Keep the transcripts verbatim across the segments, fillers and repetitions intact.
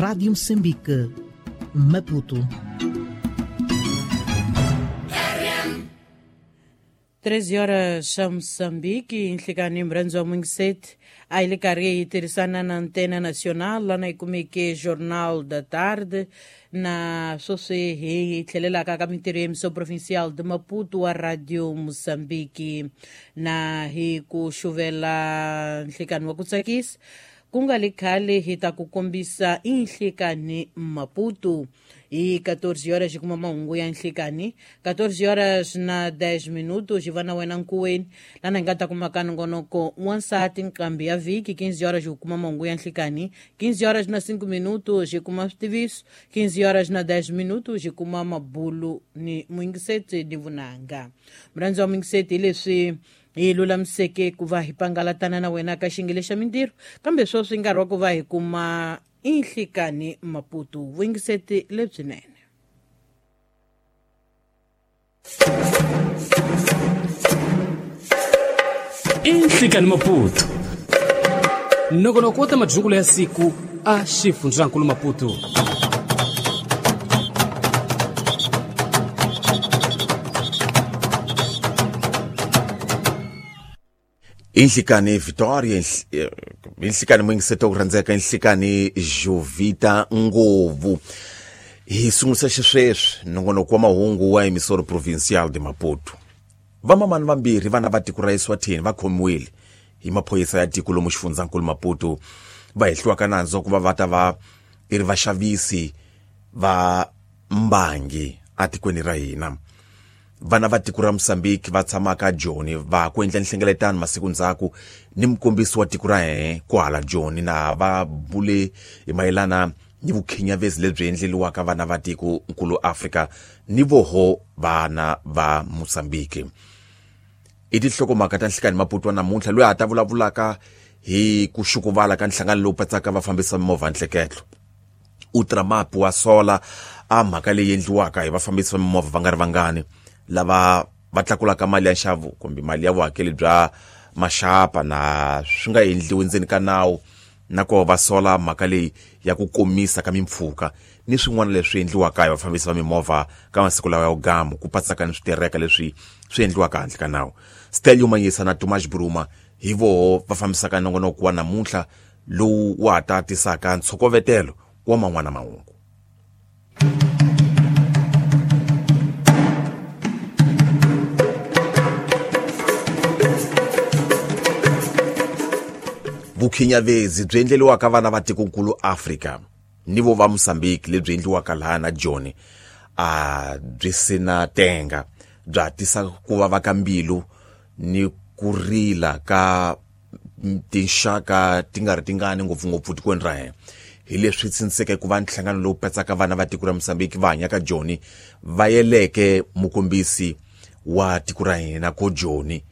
Rádio Moçambique, Maputo. treze horas xa Moçambique, nhlikani mrhandzu wa Mungiseti a hi le karhi hi tirhisana na Antena Nacional lana hi kumeke Jornal da Tarde na sweswi hi tlhelelaka ka mintirho ya Emissão Provincial de Maputo wa Radio Moçambique na hi ku xuvela nhlikani wa ku tsakisa ku nga le khale hi ta ku kombisa inhlikani Maputo. E quatorze horas kuma mahungu ya nhlikani, quatorze horas na dez minutos hi va na wena nkuweni lana hi nga ta kuma ka nongonoko wansati nqambi ya vhiki, quinze horas hi kuma mahungu ya nhlikani, quinze horas na cinco minutos hi kuma switiviso, quinze horas na dez minutos hi kuma mabulu ni muyingiseti ni vunanga. Murhandzi wa muyingiseti hi leswi hi lulamiseke ku va hi pangalatana na wena ka xingele xa mintirho, kambe sweswi nkarhi wa ku va hi kuma inhlikani Maputo. Vuyingiseti lebyinene. Inhlikani Maputo, nongonoko wa ta madyungulo ya siku a xifundzankulu Maputo. Inhlikani Victoria, inhlikani muyingiseti ku rhandzeka, inhlikani Jovita Ngovu. Hi sungulisa xisweswi nongonoko wa mahungu wa Emissora Provincial de Maputo. Vamamani vambirhi vana va tiko ra Eswatini va khomiwile hi maphorisa ya tiko lomu xifundzankulu Maputo, va hehliwaka nandzu wa ku va va ta va i ri vaxavisi va mbangi atikweni ra hina. Vana va tiko ra Mozambique va tshamaka Joni va ku endla nhlengeletano masiku ndzhaku ni mukombisi wa tiko ra hehe kwala Joni, na va bule hi mayelana ni vukhinyavezi lebyi endleliwaka vana va tiko nkulu Afrika ni voho vana va Mozambique. I tinhlokomhaka ta nhlikani Maputo wa namuntlha, loyi a ta vulavulaka hi ku xukuvala ka nhlangano lowu patsaka vafambisi va mimovha nhleketlo. Ultramap wa sola a mhaka leyi endliwaka hi vafambisi va mimovha va nga ri vangani lava va tlakulaka mali ya nxavo kumbe mali ya vuhakeli bya maxapa na swi nga endliwi ndzeni ka nawu, na ku va sola mhaka leyi ya ku komisa ka mimpfhuka ni swin'wana leswi endliwaka hi vafambisi va mimovha ka masiku lawa ya vugamu, ku patsaka ni switereka leswi swi endliwaka handle ka nawu. Stelio Manyisa na Tomas Bruma hi voho va fambisaka nongonoko wa namuntlha lowu wa ha ta tisaka ntshokovetelo wa man'wana mahungu. Vukhinyavezi byi endleliwaka vana va tikonkulu Afrika ni vo va Mozambique lebyi endliwaka laha na Joni a byi sina tenga, bya tisa ku vava ka mbilu ni ku rila ka tinxaka ti nga ri tingani ngopfungopfu tikweni ra hina. Hi leswi tshindiseke ku va nhlangano lowu patsaka vana va tiko ra Mozambique va hanyaka Joni va yeleke mukombisi wa tiko ra hina ko Joni,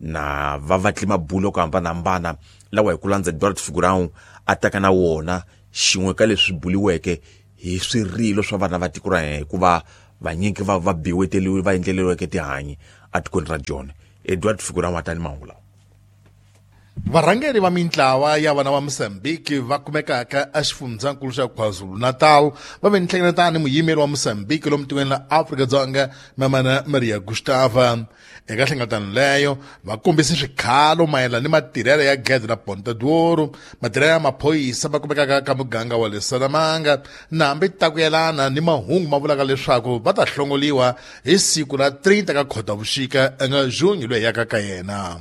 na va vatli mabulo ku hambanahambana lawa hi ku landza Eduardo Figurão a taka na wona, xin'we ka leswi buliweke hi swirilo swa vana va tiko ra hina hikuva vanyingi va va biweteliwe va endleliweke tihanyi atikweni ra Joni. Eduardo Figurão a ta ni mahungu lawa. Varhangeri va mintlawa ya vana va Mozambique va kumekaka exifundzankulu xa KwaZulu-Natal va ve nhlengeletano ni muyimeri wa Mozambique lomu tikweni la Afrika-Dzonga Mamana Maria Gustava. Eka nhlengeletano leyo va kombise swikhalo mayelana ni matirhelo ya gede ra Ponta d'Ouro, matirhelo ya maphorisa va kumekaka ka muganga wa le Salamanga, na hambi ta ku yelana ni mahungu ma vulaka leswaku va ta hlongoliwa hi siku ra trinta ka Khotavuxika nga Junho loyi yaka ka yena.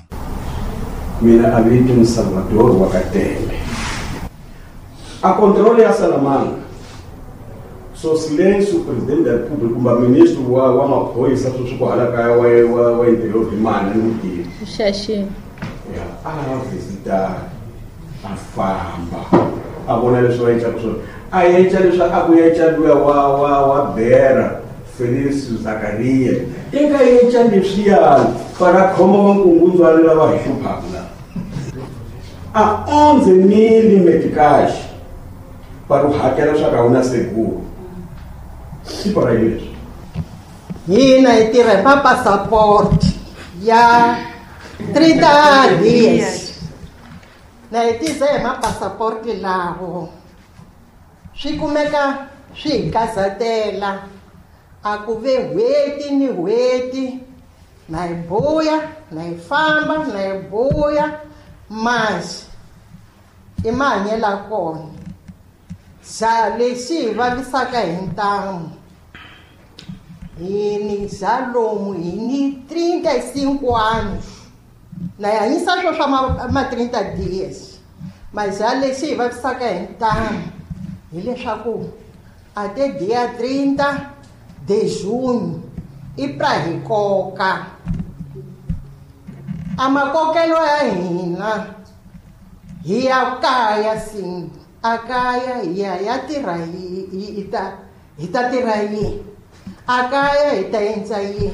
Mina avito ni Salvador wa Kateme. A controle ya Salamanca. So silêncio presidente da República, kumbe ministro wa wa maphorisa sweswi ku hala kaya wa wa wa interior hi mani ni vutivi. Xaxi. Ya, a visita a famba. A vona leswi va endlaka swona. A endla leswi a ku endla luya wa wa wa Bera Felicio Zakaria. Eka endla leswiya para khoma vankungundzwana lava hi hluphaka la. A onze mil meticais para o hakela swa ka una seguro. Si para isso. Hina hi tirha hi mapasapoti ya trinta dias. Na hi tisa hi mapasapoti lawo. Swi kumeka swi hi kazatela a ku ve n'hweti ni n'hweti na hi buya na hi famba na hi buya masi i mahanyelo kona xa lexi hi vavisaka hi ntamu hi ni xa lomu hi ni trinta e cinco anos na hi hanyisa swo swa ma, ma trinta dias mas xa lexi hi vavisaka hi ntamu hileswaku até dia trinta de junho i pra hi koka a makokelo ya hina hi ya kaya sim a kaya hi ya ya tirha hi hi ta hi ta tirha yini a kaya hi ta endla yini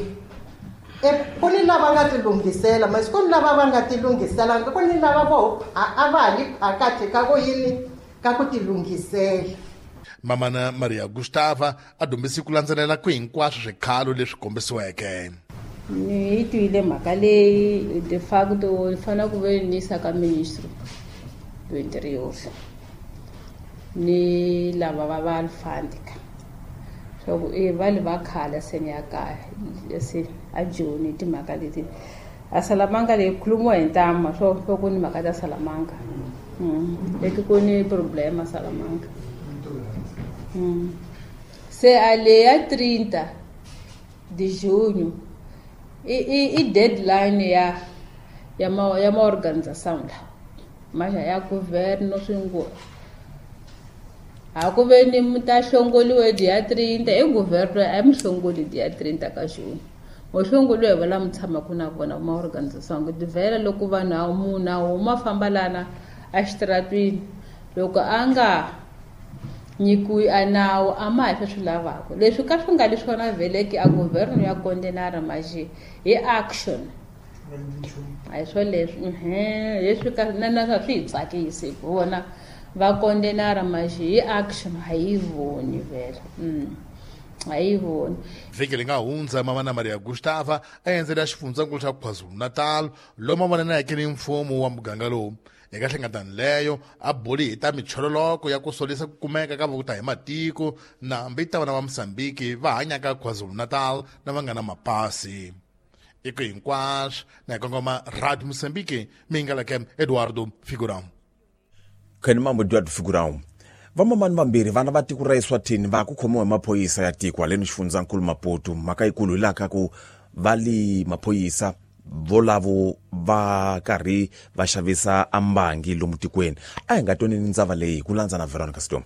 e ku ni lava nga tilunghisela masi ku ni lava va nga tilunghiselanga ku ni lava vo a va ha li phakathi ka ku yini ka ku tilunghisela. Mamana Maria Gustava a dumbisi ku landzelela ku hinkwaswo swikhalo leswi kombisiweke. Ni yi twile mhaka leyi de facto ni fanele ku ve ni yisa ka ministro do interior ni lava va va alfandika swa ku e va le va khala se ni ya kaya se a Joni timhaka leti a Salamanca leyi khulumiwa hi ntama swo swo ku ni mhaka ta Salamanca leti ku ni problema Salamanca. Mm. Se a leya trinta de junho i i, i deadline ya ya ma ya ma organização la mas ya governo swingo a ku ve ni muta hlongoliwe dia trinta e governo a mi hlongoli dia trinta ka junho mo hlongoliwe va la mi tshama ku na vona ma organização ku divela loko vanhu a munhu a huma famba lana a xitaratwini loko a nga nyikiwi a nawu a ma ha swi lavaka leswi ka swi nga leswi vona veleke a governo ya condenara maje hi action a hi swo leswi leswi ka na na swi hi tsakisi ku vona va condenara maje hi action a yi voni vhele a yi voni. Vhiki leri nga hundza Mamana Maria Gustava a endzela xifundzankulu xa KwaZulu-Natal lomu a vonaneke ni mfumo wa muganga lowu. Eka hlengeletano leyo a buli hi ta michololoko ya ku solisa ku kumeka ka vokuta hi matiko na hambi ta vana va Mozambique va hanyaka KwaZulu-Natal na va nga na mapasi. Eko hinkwaswo na hi kongoma Radio Mozambique mingaleke Eduardo Figurão. Khani mambo Eduardo Figurão. Vamamani vambirhi vana va tiko ra Eswatini va ku khomiwa hi maphorisa ya tiko haleni xifundzankulu Maputo mhaka yikulu hi laha ka ku va li maphorisa volavo va karhi va xavisa ambangi lomu tikweni a hi nga twanini ndzava leyi ku landza na Veronica Storm.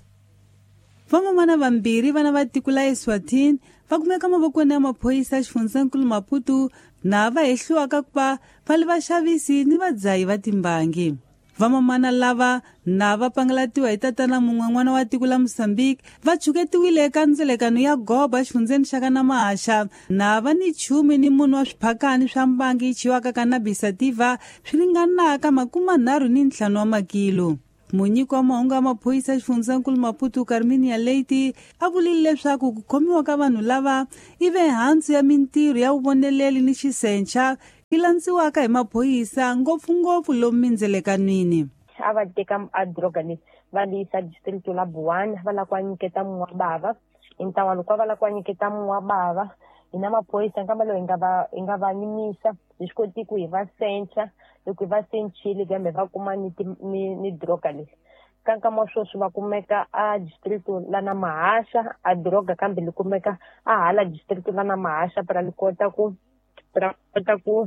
Vamamana vambirhi vana va tiko la Eswatini va kumeka mavokweni ya maphorisa ya xifundzankulu Maputo na va hehliwaka ku va va li vaxavisi ni vadzahi va timbangi. Vamamana lava na va pangalatiwa hi tatana mun'we n'wana wa tiko la Mozambique va chuketiwile eka ndzelekano ya goba exifundzeni xa ka Namahaxa na va ni chume ni munhu wa swiphakani swa mbangi yi chiwaka cannabis sativa swi ringanaka makumanharhu ni ntlhanu wa makilo. Munyiki wa mahungu ya maphorisa xifundzankulu Maputo Carminia Leite a vulile leswaku ku khomiwa ka vanhu lava i ve hansi ya mintirho ya vuvoneleli ni xisencha yi landziwaka hi maphorisa ngopfungopfu lomu mindzelekanwini. A va teka a droga leyi va li yisa district la Buwana va lava ku nyiketa Mwabava hi ntlawa loko va lava ku nyiketa Mwabava hina maphorisa nkamba lowu hi nga va hi nga va yimisa hi swi koti ku hi va sencha loko hi va senchile kambe va kuma ni ni ni droga leyi ka nkama sweswi va kumeka a district la na Mahasha a droga kambe li kumeka a hala district la na Mahasha para li kota ku para kota ku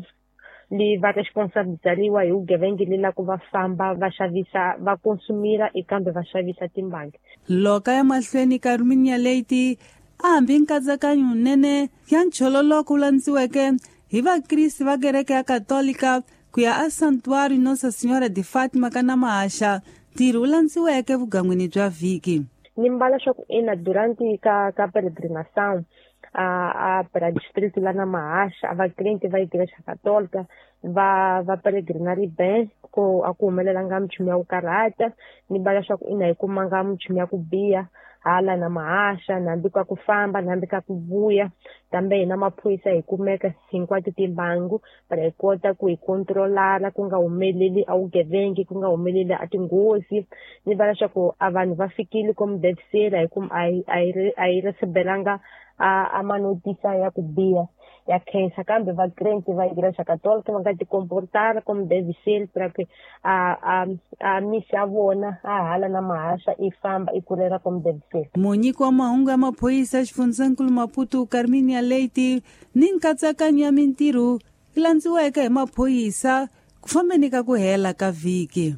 li va responsabilizariwa hi vugevenga li la ku va famba va xavisa va consumira kambe va xavisa timbangi. Loka ya mahlweni Carminia Leite a hambi nkatsakanyo wunene ya nchololoko wu landziweke hi vakrisi va kereke ya Katolika ku ya a Santuário Nossa Senhora de Fátima ka Namahaxa ntirho wu landziweke vugangwini bya vhiki. Ni mbala swa ku ina durante ka ka peregrinação a a para distrito lá na Mahasha a vakrente va igreja católica va va peregrinar bem ko a ku humelelanga minchumu ya ku karhata ni mbala swa ku ina hi kumanga minchumu ya ku biha Hala na mahasha nambi ka ku famba nambi ka ku vuya kambe hina maphorisa hi kumeka hinkwato timbangu para hi kota ku hi controlara ku nga humeleli a vugevengi ku nga humeleli a tinghozi. Ni vona leswaku a vanhu va fikile como deve ser a hi a hi a hi recebelanga a a manotisa ya ku biha ya khensa kambe va crente va Igreja Católica va nga ti comportar como deve ser para que a a a misa ya vona a hala na mahasha i famba i kurela como deve ser. Munyiki wa mahungu ya maphorisa xifundzankulu Maputo Carminia Leite ni nkatsakanyo ya mintirho yi landziweke hi maphorisa ku fambeni ka ku hela ka vhiki.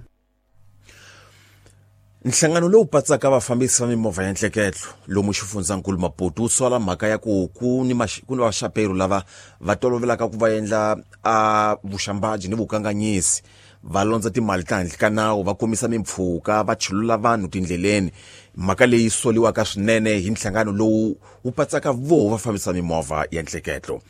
Nhlangano lowu patsaka vafambisi va mimovha ya ntleketlo lomu xifundzankulu Maputo wu sola mhaka ya ku ku ni ku ni vaxaperu lava va tolovelaka ku va endla a vuxambaji ni vukanganyisi, va londza timali ta handle ka nawu, va komisa mimpfhuka, va chulula vanhu tindleleni. Mhaka leyi soliwaka swinene hi nhlangano lowu wu patsaka voho vafambisi va mimovha ya ntleketlo.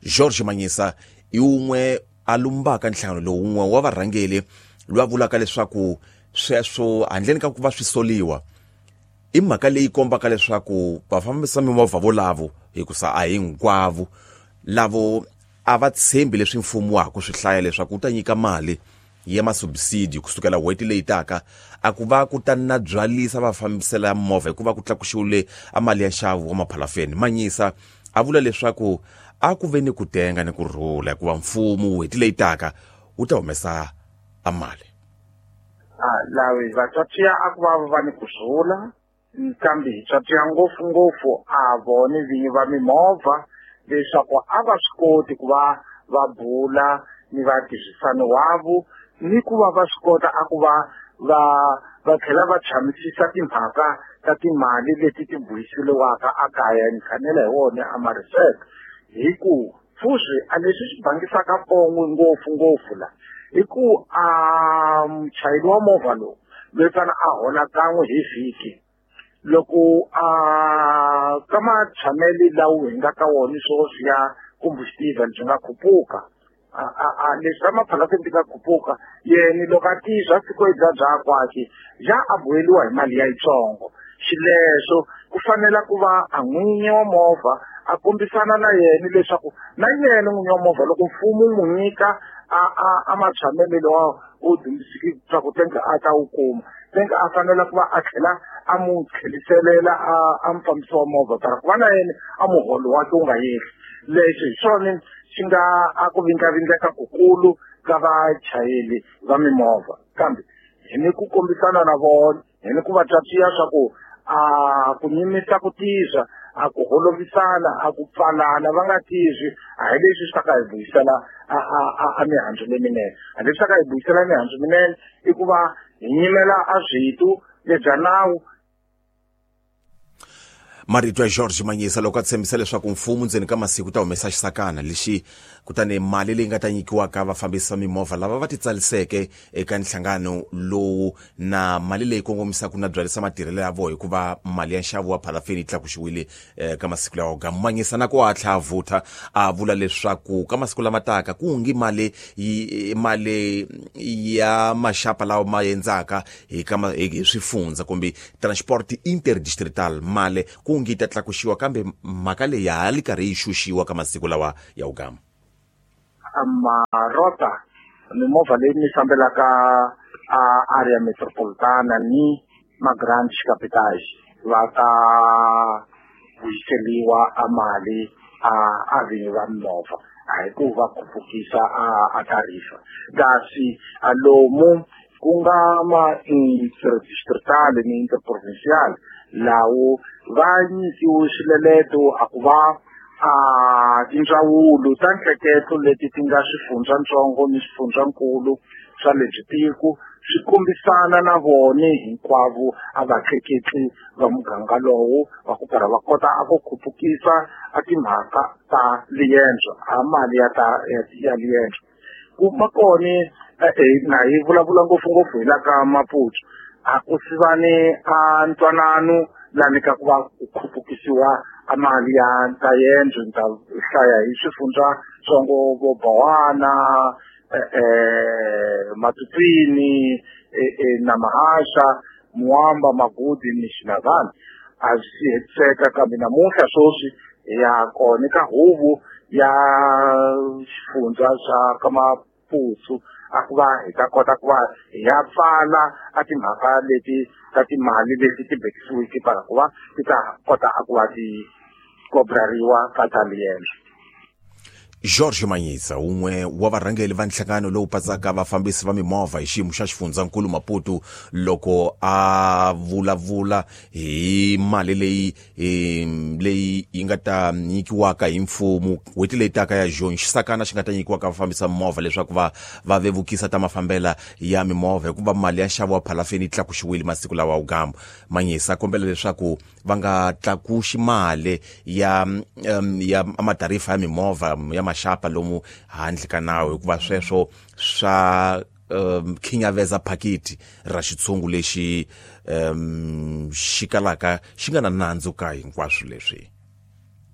George Manyisa i wun'we a lumbaka nhlangano lowu, wun'we wa varhangeli loyi a vulaka leswaku sweswo handleni ka ku va swi soliwa i mhaka leyi kombaka leswaku vafambisi va mimovha volavo, hikusa a hinkwavo lavo a va tshembi leswi mfumo wa ha ku swi hlaya leswaku wu ta nyika mali ya masubsidi kusukela n'hweti leyi taka, a ku va ku ta na byalisa vafambisela movha hikuva ku tlakuxiwile a mali ya nxavo wa maphalafeni. Manyisa a vula leswaku a ku ve ni ku tenga ni ku rhula hikuva mfumo n'hweti leyi taka wu ta humesa a mali. Lavi vatswatsi a ku va va ni ku rhula kambe hi tswatsiya ngopfungopfu a vone vinyi va mimovha leswaku a va swi koti ku va va bula ni vatirhisani wavo ni ku va va swi kota a ku va va va tlhela va tshamisisa timhaka ta timali leti ti buyiseliwaka a kaya ni khanela hi wona a mariseka hi ku fusi a leswi swi bangisaka pongwe ngopfungopfu la hi ku a muchayeri wa movha lowu loyi fana a hola kan'we hi vhiki loko a ka matshamelo lawa hi nga ka wona sweswi ya combustible byi nga khupuka a a leswi ka maphalafeni ti nga khupuka yena loko a tizwa siku bya bya kwakhe ja a boheliwa hi mali ya yitsongo xileswo ku fanela ku va a n'winyi wa movha a kombisana na yena leswaku na yena n'winyi wa movha loko mfumo wu n'wi nyika a a a matshamelo lawa u dyondzisiki swa ku tenga a ta wu kuma tenga a fanela ku va a tlhela a mu tlheliselela a a mufambisi wa movha para ku va na yena a muholo wakhe wu nga yehli. Leswi hi swona swi nga a ku vindlavindleka kukulu ka vachayeri va mimovha kambe hi ni ku kombisana na vona hi ni ku va twatsiya swa ku a ku nyimisa ku tizwa a ku holovisana a ku pfalana va nga tizwi a hi leswi swi ta ka hi vuyisela a a a mihandzu leminene. A leswi ta ka hi vuyisela mihandzu minene i ku va hi nyimela a switu lebya nawu. Marito ya George Manyisa loko a tshembisa leswaku mfumo ndzeni ka masiku ta humesa xisakana lexi kutani mali leyi nga ta nyikiwaka vafambisi va mimovha lava va titsaliseke eka nhlangano lowu na mali leyi kongomisaka na byalisa matirhelo ya vona hikuva mali ya nxavo wa phalafeni yi tlakuxiwile ka masiku lawa. Gamanyisa na ku hatla a vutha a vula leswaku ka masiku lama taka ku ngi mali mali ya maxapa lawa ma endzaka hi ka hi swifundza kumbe transport interdistrital mali ku ngi ta tlakuxiwa kambe mhaka leyi ya ha li karhi yi xuxiwa ka masiku lawa ya ugama. Marota mimovha leyi mi fambelaka a area metropolitana ni ma-grand capital va ta vuyiseliwa a mali a a vinyi va mimovha a hi ku va khupukisa a a tarifa kasi a lomu ku nga ma interdistrital ni interprovincial lawo va nyikiwe swileleto a ku va a tindzawulo ta nhleketlo leti ti nga swifundzatsongo ni swifundzankulu swa lebyi tiko swi kombisana na vona hinkwavo a vatleketli va muganga lowu va ku karhi va kota a ku khupukisa a timhaka ta liendzo a mali ya ta ya liendzo ku ma kona na hi vulavula ngopfungopfu hi la ka Maputo a ku sivani a ntwanano lani ka ku va ku khupukisiwa a mali ya ta yendzo ni ta hlaya hi swifundzatsongo vo Bowana eh Matupini na Mahasha Muamba Magudi ni Xinavani a swi hetiseka kambe namuntlha sweswi hi ya kona ka huvo ya xifundza xa ka Maputo a ku va hi ta kota ku va hi ya pfala a timhaka leti ta timali leti ti bekisiweke para ku va ti ta kota a ku va ti kobrariwa ka ta yena. George Manyisa un'we wa varhangeri va nhlangano lowu patsaka vafambisi va mimovha hi xiyimo xa xifundzankulu Maputo loko a vulavula hi mali leyi leyi yi nga ta nyikiwaka hi mfumo n'hweti leyi taka ya June xisakana xi nga ta nyikiwaka vafambisi va mimovha leswaku va va vevukisa ta mafambela ya mimovha hikuva mali ya nxavo wa phalafeni yi tlakuxiwile masiku lawa wugamu. Manyisa kombela leswaku va nga tlakuxi mali ya ya matarifa ya mimovha ya maxapa lomu handle ka nawu hikuva sweswo swa um, khinyaveza phakiti ra xitshungu lexi um, xi kalaka xi nga na nandzu ka hinkwaswo leswi.